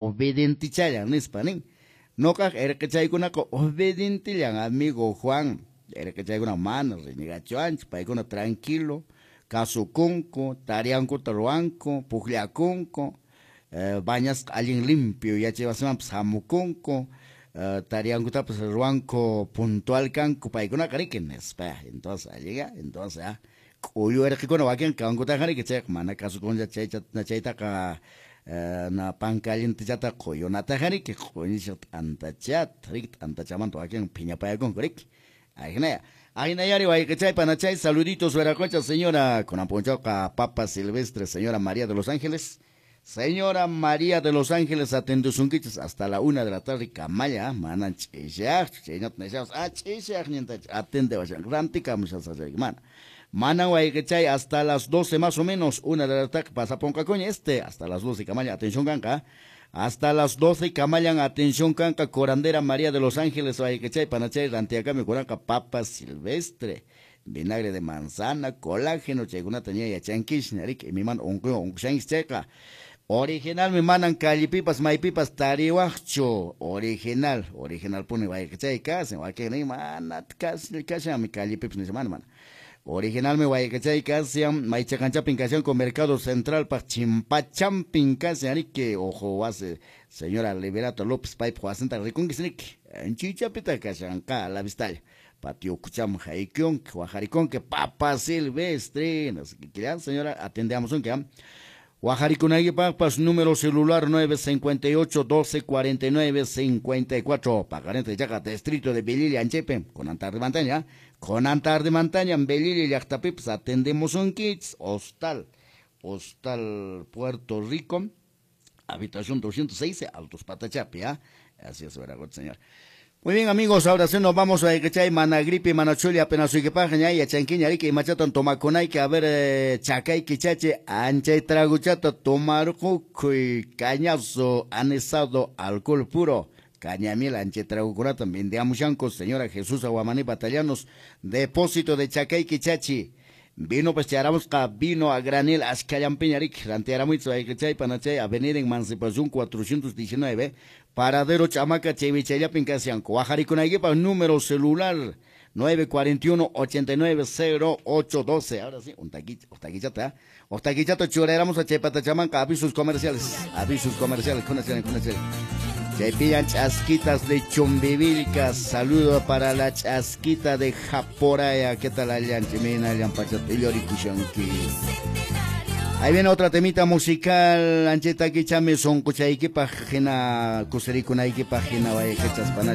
Obedientichallan nispa nin. Noqaq erqechaykunaqa obedientillan, amigo Juan. Erqechaykuna mana renegachuanchu, paykuna tranquilo, kasukunku, tariankuta ruwanku, pukllakunku, bañasqa allin limpio yachaywasimanpas hamukunku, tariankutapas ruwanku, puntual kanku paykunaqa riki nispa. Entonces alliga, entonces k'uyu erqekuna wakin kankutaqa riki chayqa mana kasukunlla chaytaqa na pan calientechata quyunataqa riki q'uñishaq t'antachata riki t'antachamanta wakin phiñapayakunku riki. Ajinaya, ajinayari wayqichay panachay, saluditos Veracocha, señora kunan p'unchawqa Papa Silvestre, señora María de los Ángeles. Señora María de los Ángeles atendusunkichis hasta la 1 de la tarde kamalla, manan ch'ishaqchu, chaynata nishaqpas, ch'ishaqñintach atendewashan, rantikamushasaq mana. Manan wayqichay hasta las 12 más o menos, 1 de la tarde pasaponqakuña hasta las 12 kamalla atención kanqa. Hasta las 12 kamallan atención kanqa curandera María de los Ángeles wayqichay panachay rantiakami kuranqa Papa Silvestre, vinagre de manzana, colágeno, chaykunata ña yachankishña riki, imaymana unquywan unqushankish chayqa. Originalmi manan callipipas maypipas tariwaqchu, original, original puni wayqichay kasin, wakin nin mana kashanmi callipipas nisha, mana, mana. Originalmi wayqichay kashan, maychaqanchapin kashanku Mercado Centralpaq chimpachampin kashan riki, ojo wasi señora Liberato López paypaq wasinta rikunkis riki, anchichapitaq kashanqa a la vistalla. Patio kucham haykunki, wajarikunki, Papa Silvestre, no sé qué quieran, señora, atendamos un que, ¿ah? Wajaricunaykipaqpas número celular 958 12 49 54. Pagarente yaqa distrito de Belili Anchepe, con Antar de Montaña, con Antar de Montaña, en Belili llaqtapipas atendemos un kits, Hostal, Hostal Puerto Rico, habitación 206, Altos Patachapi, ¿ah? Así es, verdad, señor. Muy bien, amigos, ahora sí nos vamos a Echay, mana gripe, mana chuli, apenas uiquepaja, ña, ya chanquiña, rique, y machatan tomaconay, que a ver, chacay, quichache, anchay, traguchata, tomar cucuy, cañazo, anisado, alcohol puro, cañamiel, anchay, tragucurata, vendiamushanco, señora Jesús Aguamaní Batallanos, depósito de chacay, quichachi. Vino, pues, charamos ca vino a granel, ascallampiña, rique, rantearamuitzo, Echay, panachay, Avenida Emancipación 419, Paradero Chamaca, Chevichayapin, Casianco, Guajaricunayguipa, número celular 941 89 0 8 12. Ahora sí, un taquito, un taquichata, un taquichata, chureramos a Chepata Chamanca, avisos comerciales, con el, con el. Chepillan chasquitas de Chumbivilcas, saludo para la chasquita de Japoraya, ¿qué tal allá? Chimina, Llampachata, Lloricuxanqui. Ahí viene otra temita musical, ancheta kichame sonkuchayki pajina, kuserikunayki pajina, vaya que chaspana.